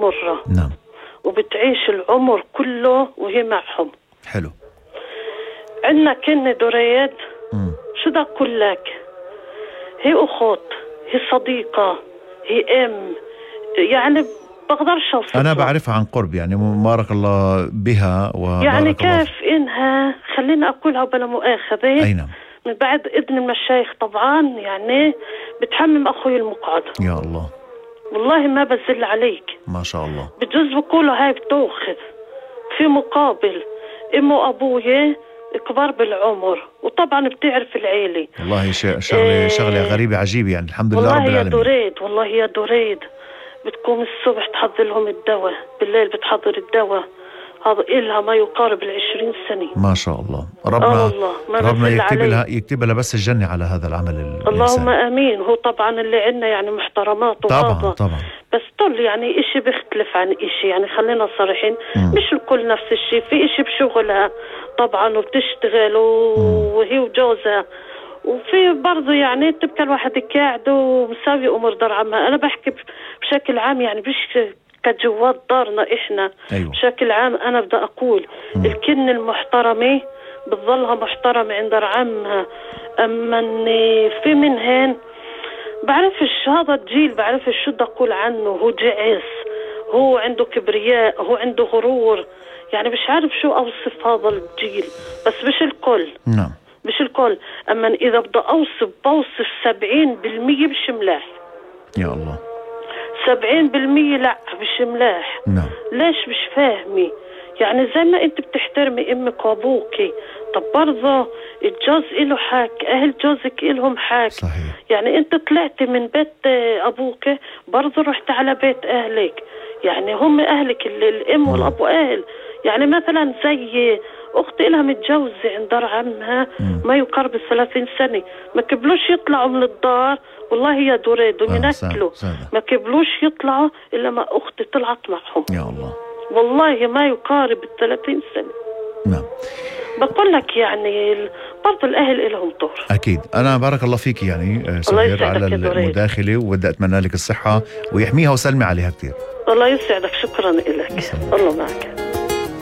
مرة. نعم. وبتعيش العمر كله وهي معهم. حلو. عندنا كنة دريد. شو بدي أقول لك؟ هي أخت، هي صديقة، هي أم، يعني بقدرش أوصفها. أنا بعرفها عن قرب، يعني بارك الله بها يعني كيف إنها، خليني أقولها بلا مؤاخذة. أي نعم. من بعد إذن المشايخ طبعا، يعني بتحمم أخوي المقعد. يا الله. والله ما بزل عليك. ما شاء الله. بجوز بقولوا هاي بتأخذ في مقابل أمه وأبويا كبار بالعمر، وطبعا بتعرف العيلة. والله شغلة غريبة عجيبة، يعني الحمد لله رب العالمين. والله يا دريد بتقوم الصبح تحضر لهم الدواء، بالليل بتحضر الدواء، هذا إلها ما يقارب 20 سنة. ما شاء الله. ربنا يكتب لها بس الجنة على هذا العمل. اللهم آمين. هو طبعا اللي عنا يعني محترمات وهذا طبعا. بس طول يعني إشي بيختلف عن إشي، يعني خلينا صريحين. مش الكل نفس الشيء، في إشي بشغلها طبعا وبتشتغل وهي وجوزها، وفي برضه يعني تبقى الواحد قاعد ومساوي أمور دار عمها. أنا بحكي بشكل عام، يعني مش كجوات دارنا إحنا. أيوة. بشكل عام أنا بدي أقول الكن المحترمة بتظلها محترمة عند عمها. أما في منهن بعرفش، هذا الجيل بعرفش شو بدي أقول عنه. هو جعس، هو عنده كبرياء، هو عنده غرور، يعني مش عارف شو أوصف هذا الجيل، بس مش الكل. نعم. مش الكل. أما إذا بدي بوصف 70% مش ملاح. يا الله. 70% لا مش ملاح. نعم. ليش مش فاهمي؟ يعني زي ما انت بتحترمي امك وابوكي، طب برضه الجوز له حق، اهل جوزك لهم حق. صحيح. يعني انت طلعتي من بيت ابوك، برضه رحت على بيت اهلك، يعني هم اهلك الام والاب اهل. يعني مثلا زي اختي لها متجوزه عند دار عمها ما يقارب 30 سنه، ما كبلوش يطلعوا من الدار. والله يا دريد ومنكلوا ما كبلوش يطلعوا الا ما اختي طلعت معهم. يا الله. والله ما يقارب 30 سنه. نعم. بقول لك يعني برضه الاهل لهم دور. اكيد. انا بارك الله فيك يعني سهير على المداخله، وبدي اتمنى لك الصحه ويحميها وسلمي عليها كثير. الله يسعدك. شكرا لك. الله معك.